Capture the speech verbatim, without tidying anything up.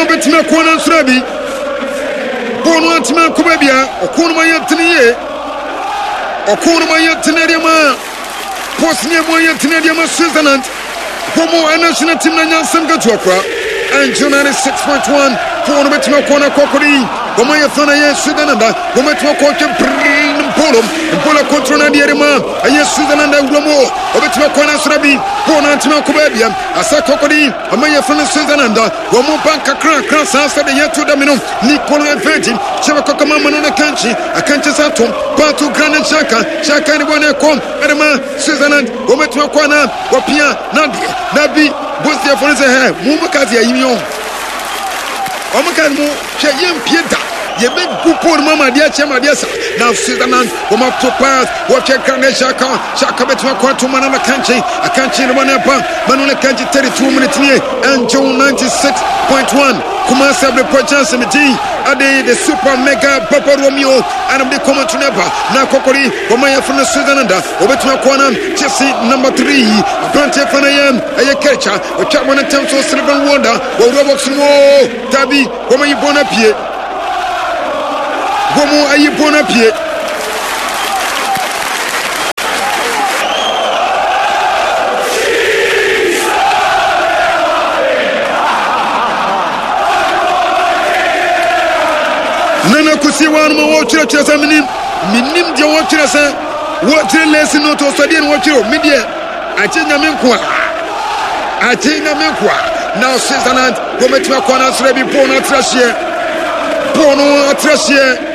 No bɛtumi akɔ no nsoro bi. Bɔɔl no antumi ankɔ baabi a ɔko no ma yɛ tene yie. Ɔko no ma yɛ tene deɛ ma Bosnia mu ayɛ tene deɛ ma Switzerland. Wɔn national team na nyansɛm ketewa kora. Angel ninety-six point one. Bɔɔl no bɛtumi akɔ no akɔ akɔde yi. Wɔn ayɛ fa na yɛ Switzerland. Wɔn bɛtumi akɔ ɔtwe brrrr Mpolo. Mpolo control na deɛ de ma ɛyɛ Switzerland awura mu. Wɔbɛtumi akɔ no asora bi. Bɔɔl no antumi akɔ baabi a. Asa kɔkɔde yi. Wɔn ayɛ fa no Switzerland. Wɔn mu ba nkakra kakra saa sɛ de yɛto dame no. Nicolo Elvedi. Kyerɛ kɔkɔ ma no na kankye. Akankye sa tom. Pato Granit Xhaka. Xhaka ne bɔ ne kɔm. Ɛde ma Switzerland. Wɔn bɛtumi akɔ ana wɔpia na deɛ na bi Bosniafoɔ no sɛ hɛ mo mo ka sɛ yɛyi mi o. Wɔn ka mo hwɛ yɛmpie da yɛbɛgu pole mu ama adeɛ kyɛ ma adeɛ sa na Switzerland wɔn ato pass wɔhwɛ Granit Xhaka. Xhaka bɛtumi akɔ ato ma no na kankye akankye ne bɔ ne ba ma no ne kankye. thirty-two minutes nie. Angel ninety-six point one Kumasi Abirepɔ chance mi din ade the super mega Papa Romeo anam de kɔmɔ to ne ba na kɔkɔri wɔn ayɛ funu no Switzerland wɔbɛtumi akɔ na Chelsea number three aberanteɛ fa no yɛ ɛyɛ Kɛrɛkya ɔtwa wɔn ntɛm so Sylvain Wonder wɔwura box no mu dabi wɔn ayi bɔn no apue wɔn ayi bɔn no apue. Nana kusi wa no ma wɔtwerɛtwerɛ sɛ menim menim deɛ wɔtwerɛ sɛ wɔtwerɛ lɛsi no to sɔdeɛ no wɔtwerɛ o me deɛ akye Nyame nko a akye Nyame nko a na Switzerland wɔmɛtumi akɔ no asrɛ bi bɔɔl no atrɛ hyeɛ bɔɔl no atrɛ hyeɛ.